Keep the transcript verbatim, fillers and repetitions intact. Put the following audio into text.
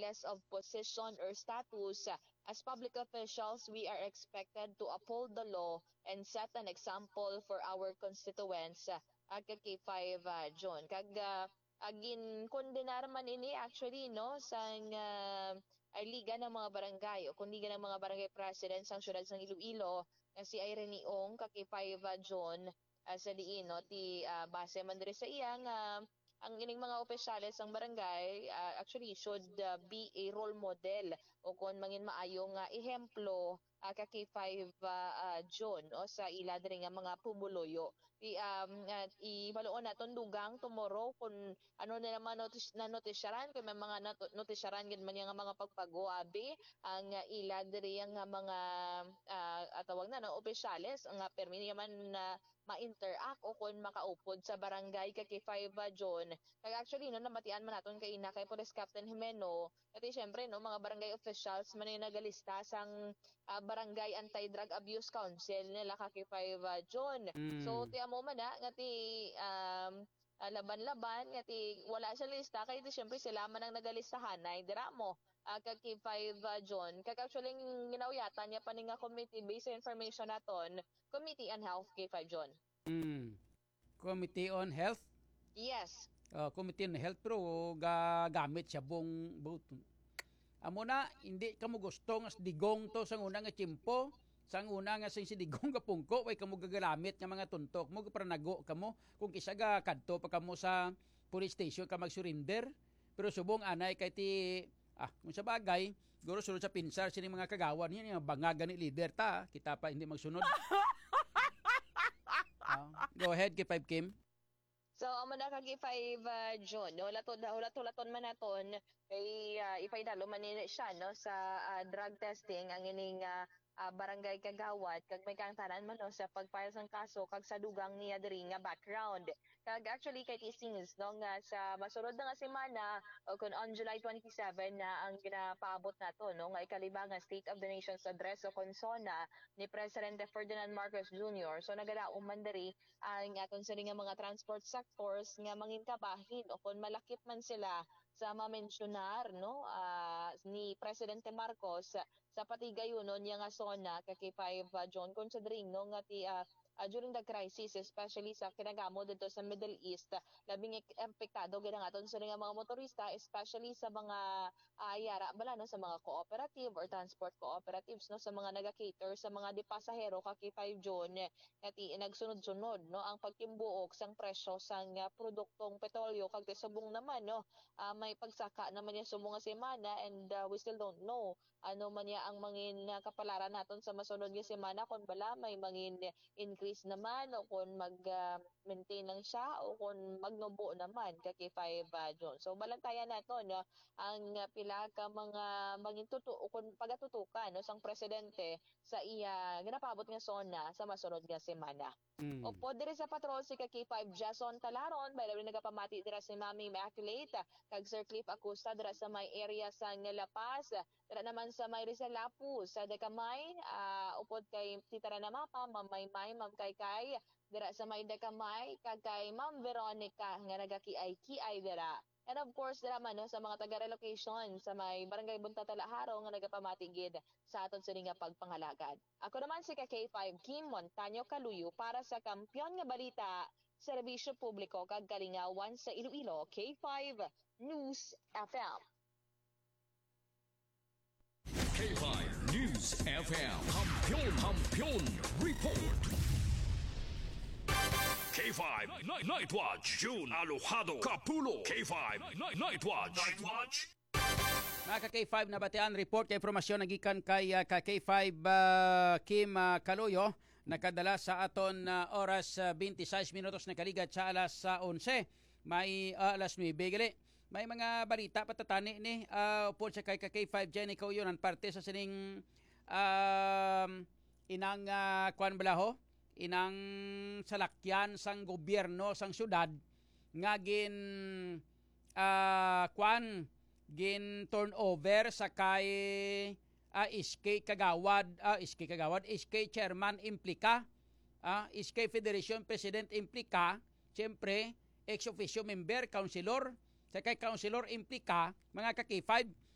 regardless of position or status, as public officials, we are expected to uphold the law and set an example for our constituents, ah, ka K five, ah, Jun. Kag, ah, ah, ginkondenar man ini actually, no, sang, ah, ay liga ng mga barangay o kung liga ng mga barangay president sang siyudad sang Iloilo nga si Irene Ong ka K five, ah, Jun, ah, sa diin, no, ti, ah, base man diri sa iya nga ang ining mga opisyales sang barangay, ah, actually should, ah, be a role model o kon mangin maayo nga ehemplo, ah, ka K five, ah, ah, Jun, o sa ila diri nga mga pumuluyo. Ti, um, ah, ibaluon naton dugang tomorrow kung ano na naman notis-, na notisyaran, kung may mga nat-, notisyaran gid man nga mga pagbago, abi, ang, ah, ila diri nga mga, ah, ah, tawag na, no, opisyales nga permi naman na ma-interact o kon makaupod sa barangay ka K five, ah, Jun. Kag actually, no, nabatian man naton kaina kay Police Captain Jimeno, kati syempre, no, mga barangay officials man yung nagalista sang, ah, Barangay Anti-Drug Abuse Council nila ka K five, ah, Jun. Mm. So, ti amo man na, nga ti, um, ah, laban-laban, nga ti wala sa lista, kay ti syempre sila man ang nagalistahanay, dira mo, ah, ka K five, ah, Jun. Kag actually, ang ginauyatan niya pa ni nga committee, based sa information naton, Committee on Health, K five, Jun. Mm. Committee on Health? Yes. Oh, Committee on Health, pero gagamit siya bung buto. Amo na, hindi kamo gusto nga digong to sang una nga tiyempo, sang una nga sing si digong kapungko, way kamo gagalamit nga mga tuntok mo, gaparanago kamo. Kung kisa ga kadto pa kamo sa police station ka mag-surrender, pero subong anay kay ti, ah, kung sa bagay, siguro sulod sa pinsar sini mga kagawad niya, nga banga gani leader ta, kita pa hindi magsunod. Ah, go ahead, K five Kim. So, amo na ka K five, ah, Jun. Hulat-, hulat-, hulaton man naton, kay, ah, ipaidalo man ni siya, no, sa, ah, drug testing ang ining, ah, ah, barangay kagawad, kag may kaangtanan man, no, sa pag-file sang kaso, kag sa dugang niya diri nga background. Kag actually, kay it seems, no, nga sa masunod na nga semana, o kung on July twenty-seven na ang ginapaabot nato, no, nga ikalima nga State of the Nation's Address o kon SONA ni Presidente Ferdinand Marcos Junior. So, nagadaom man diri ang aton sini nga mga transport sectors nga mangin kabahin o kon malakip man sila sa mamensyonar, no, ah, ni Presidente Marcos sa patigayunon niya nga SONA ka K five, ah, Jun, considering, no, nga ti, ah, ah, during the crisis, especially sa kinagamo dito sa Middle East, labing ek-, apektado gid ang aton sini nga mga motorista, especially sa mga, ah, yara bala, no, sa mga cooperative or transport cooperatives, no, sa mga naga-cater sa mga di pasahero ka K five, Jun, nga ti nagsunod-sunod, no, ang pagtimbuok sang presyo sang, ah, produktong petrolyo, kag ti subong naman, no, ah, may pagsaka naman niya subong nga semana, and, ah, we still don't know ano man niya ang mangin, ah, kapalaran naton sa masunod nga semana, kon bala may mangin increase naman o kon mag, ah, maintain lang siya o kon magnubo naman ka K five, ah, Jun. So, balantayan naton, no, ang, ah, pila ka mga mangin tutu-, o kon pagatutukan, no, sang presidente sa iya ginapaabot nga SONA sa masunod nga semana. Mm. Upod diri sa patrol si ka K five Jason Talaron, by the way, nagapamati dira si Mami Immaculate, kag Sir Cliff Acusa dira sa may area sa La Paz, dira naman sa may Rizal Lapu, sa Decamay, ah, upod kay Tita Rana Mapa, Ma'am Maymay, Ma'am Kaykay, dira sa may Decamay, kag kay Ma'am Veronica nga nagakiay-kiay dira. And of course, dira man, no, sa mga taga-relocation sa may Barangay Bunta Talaharo nga nagapamati gid sa aton sini nga pagpangalagad. Ako naman si ka K five Kim Montaño Kaluyo para sa Kampiyon nga Balita, Serbisyo Publiko kag Kalingawan sa Iloilo, K five News F M. K five News F M. Kampiyon, Kampiyon Report. K five Night, Night Watch, June Alojado Kapulo. K five Night, Night Watch. Night Watch. Mga ka K five, nabatian report kay impormasyon nagikan kay, ah, ka K five, ah, Kim, ah, Kaloyo, nakadala sa aton, ah, oras, ah, twenty-six minutos nakaligat sa alas, ah, onse. May, ah, alas nuebe gali. May mga balita patatani ni, ah, upod sa kay ka K five Jenny Kauyonan, parte sa sining, um, inang, ah, kwan bala ho? Inang salakyan sang gobyerno sang syudad nga gin, ah, kwan, gin turnover sa kay, ah, S K Kagawad, ah, S K Kagawad, S K Chairman Implica, ah, S K Federation President Implica, siyempre, ex officio member, councilor, sa kay Councilor Implica, mga ka K five,